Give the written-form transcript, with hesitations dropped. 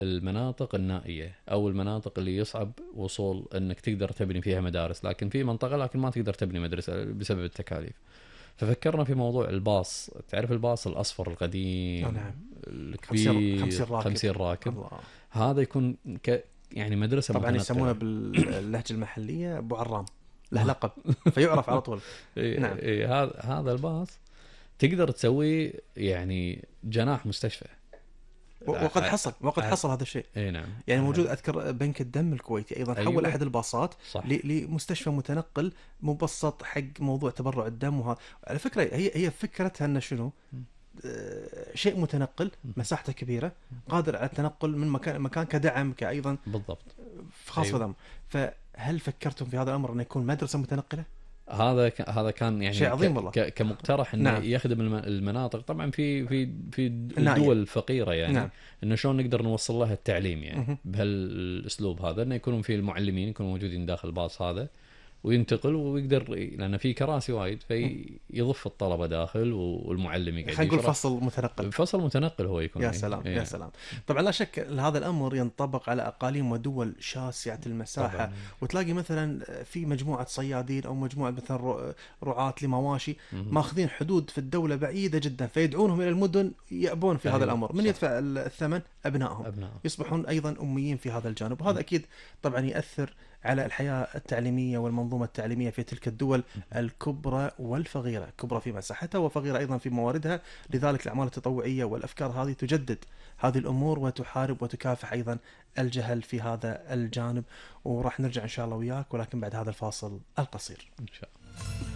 المناطق النائية أو المناطق اللي يصعب وصول أنك تقدر تبني فيها مدارس، لكن في منطقة لكن ما تقدر تبني مدرسة بسبب التكاليف. ففكرنا في موضوع الباص. تعرف الباص الأصفر القديم نعم. الكبير 50 راكب. 50 راكب. الله. هذا يكون يعني مدرسة طبعا متنقلة. يسمونه باللهجة المحلية أبو عرام، له لقب فيعرف على طول. نعم. هذا الباص تقدر تسوي يعني جناح مستشفى. وقد حصل هذا الشيء. نعم. يعني موجود. أذكر بنك الدم الكويتي أيضا حول أحد الباصات لمستشفى متنقل مبسط حق موضوع تبرع الدم. وهذا على فكرة هي فكرتها أن شنو شيء متنقل مساحته كبيرة قادر على التنقل من مكان كدعم كأيضا بالضبط خاص بدم. فهل فكرتم في هذا الأمر أن يكون مدرسة متنقلة؟ هذا كان يعني شيء عظيم والله. كمقترح انه نعم. يخدم المناطق طبعا في الدول الفقيره يعني. نعم. انه شلون نقدر نوصل لها التعليم يعني بهالاسلوب هذا، انه يكونوا في المعلمين يكونوا موجودين داخل الباص هذا وينتقل ويقدر، لأن في كراسي وايد فيضف الطلبة داخل والمعلم يقعد. خلينا نقول فصل متنقل هو يكون. يا سلام يا سلام. طبعا لا شك هذا الأمر ينطبق على أقاليم ودول شاسعة المساحة طبعاً. وتلاقي مثلا في مجموعة صيادين أو مجموعة مثلا رعاة لمواشي ماخذين حدود في الدولة بعيدة جدا، فيدعونهم إلى المدن يأبون في هذا الأمر. من يدفع الثمن؟ أبنائهم يصبحون أيضا أميين في هذا الجانب. وهذا أكيد طبعا يأثر على الحياة التعليمية والمنظومة التعليمية في تلك الدول الكبرى والفقيرة، كبرى في مساحتها وفقيرة أيضا في مواردها. لذلك الأعمال التطوعية والأفكار هذه تجدد هذه الأمور وتحارب وتكافح أيضا الجهل في هذا الجانب. وراح نرجع إن شاء الله وياك، ولكن بعد هذا الفاصل القصير إن شاء الله.